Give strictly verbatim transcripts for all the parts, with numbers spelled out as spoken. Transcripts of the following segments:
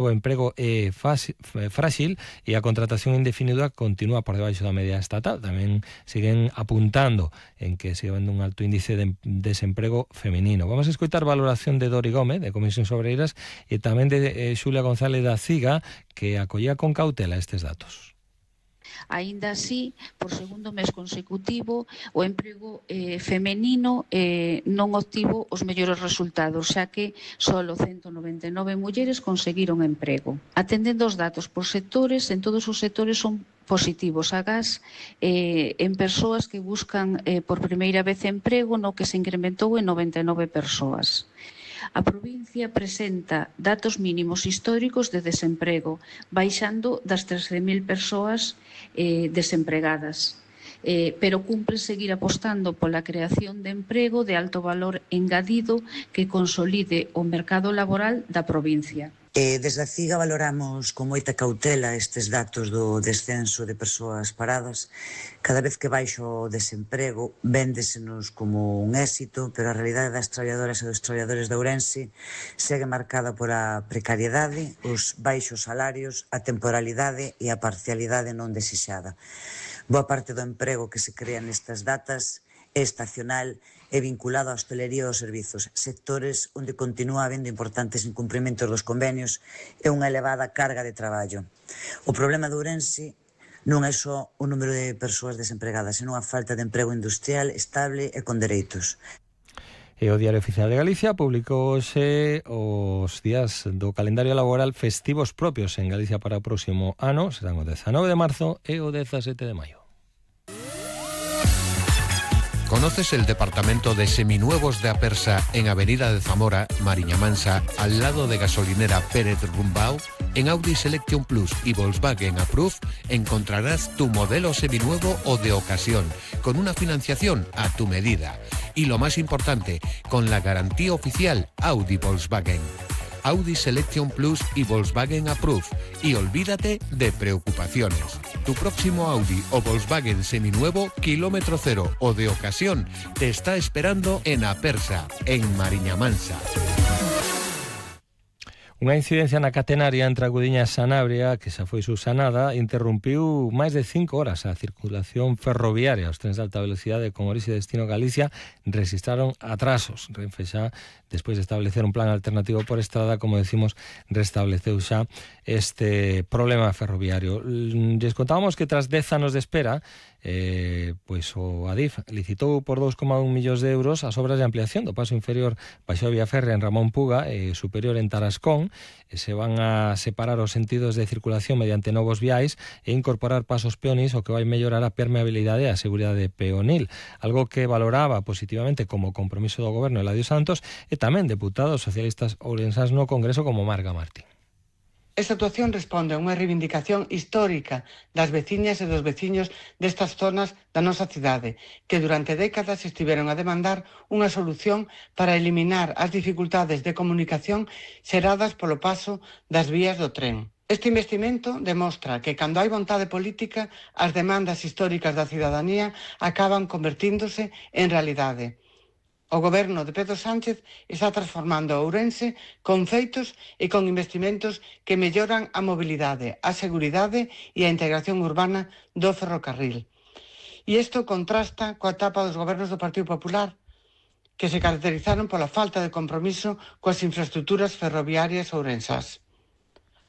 O emprego é frágil e a contratación indefinida continúa por debaixo da media estatal. Tamén siguen apuntando en que sigue habendo un alto índice de desemprego feminino. Vamos a escoitar valoración de Dori Gómez, de Comisións Obreiras, e tamén de eh, Xulia González da CIGA, que acollía con cautela estes datos. Aínda así, por segundo mes consecutivo, o emprego eh, femenino eh, non obtivo os mellores resultados, xa que só ciento noventa e nove mulleres conseguiron emprego. Atendendo os datos por sectores, en todos os sectores son positivos. Agás, eh, en persoas que buscan eh, por primeira vez emprego, no que se incrementou en noventa e nove persoas. A provincia presenta datos mínimos históricos de desemprego, baixando das trece mil persoas eh, desempregadas. Eh, pero cumpre seguir apostando pola creación de emprego de alto valor engadido que consolide o mercado laboral da provincia. E desde a CIGA valoramos con moita cautela estes datos do descenso de persoas paradas. Cada vez que baixo o desemprego véndesenos como un éxito, pero a realidade das traballadoras e dos traballadores de Ourense segue marcada por a precariedade, os baixos salarios, a temporalidade e a parcialidade non desexada. Boa parte do emprego que se crea nestas datas é estacional e vinculado á hostelería e aos servizos, sectores onde continúa habendo importantes incumprimentos dos convenios e unha elevada carga de traballo. O problema de Ourense non é só o número de persoas desempregadas, senón a falta de emprego industrial estable e con dereitos. E o Diario Oficial de Galicia publicouse os días do calendario laboral festivos propios en Galicia para o próximo ano, serán o dezanove de marzo e o dezasete de maio. ¿Conoces el departamento de seminuevos de Apersa en Avenida de Zamora, Mariña Mansa, al lado de gasolinera Pérez Rumbao? En Audi Selection Plus y Volkswagen Approve encontrarás tu modelo seminuevo o de ocasión, con una financiación a tu medida. Y lo más importante, con la garantía oficial Audi Volkswagen. Audi Selection Plus y Volkswagen Approve. Y olvídate de preocupaciones. Tu próximo Audi o Volkswagen seminuevo, kilómetro cero o de ocasión, te está esperando en Apersa, en Mariña Mansa. Unha incidencia na catenaria entre a Gudiña e Sanabria, que xa foi subsanada, interrompiu máis de cinco horas a circulación ferroviaria. Os trens de alta velocidade con orixe e destino Galicia registraron atrasos. Renfe xa, despois de establecer un plan alternativo por estrada, como decimos, restableceu xa este problema ferroviario. Les contábamos que tras dez anos de espera, eh, pois o Adif licitou por dous coma un millóns de euros as obras de ampliación do paso inferior baixo a vía férrea en Ramón Puga e superior en Tarascón. Se van a separar os sentidos de circulación mediante novos viais e incorporar pasos peonís, o que vai mellorar a permeabilidade e a seguridade peonil, algo que valoraba positivamente como compromiso do goberno Eladio Santos e tamén deputados socialistas ourensás no Congreso como Marga Martín. Esta actuación responde a unha reivindicación histórica das veciñas e dos veciños destas zonas da nosa cidade, que durante décadas estiveron a demandar unha solución para eliminar as dificultades de comunicación xeradas polo paso das vías do tren. Este investimento demostra que cando hai vontade política, as demandas históricas da cidadanía acaban convertíndose en realidade. O goberno de Pedro Sánchez está transformando Ourense con feitos e con investimentos que melloran a mobilidade, a seguridade e a integración urbana do ferrocarril. E isto contrasta coa etapa dos gobernos do Partido Popular, que se caracterizaron pola falta de compromiso coas infraestructuras ferroviarias ourensás.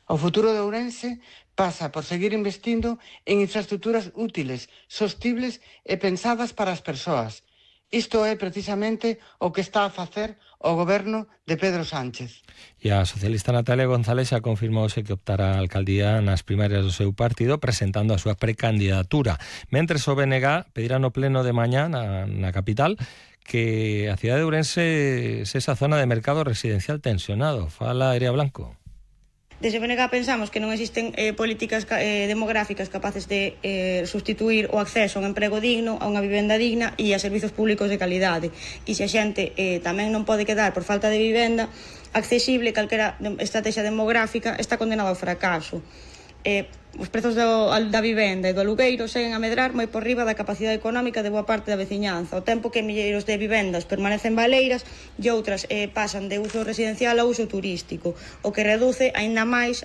O futuro de Ourense pasa por seguir investindo en infraestructuras útiles, sostibles e pensadas para as persoas. Isto é precisamente o que está a facer o goberno de Pedro Sánchez. E a socialista Natalia González xa confirmouse que optará a alcaldía nas primarias do seu partido presentando a súa precandidatura. Mentres o B N G pedirá no pleno de mañá na, na capital que a cidade de Ourense sexa zona de mercado residencial tensionado. Fala Erea Blanco. Desde o B N G pensamos que non existen eh, políticas eh, demográficas capaces de eh, sustituir o acceso a un emprego digno, a unha vivenda digna e a servizos públicos de calidade. E se a xente eh, tamén non pode quedar por falta de vivenda accesible, calquera estrategia demográfica está condenada ao fracaso. eh, os prezos do, da vivenda e do alugueiro seguen a medrar moi por riba da capacidade económica de boa parte da veciñanza, ao tempo que milleiros de vivendas permanecen baleiras e outras eh, pasan de uso residencial a uso turístico, o que reduce aínda máis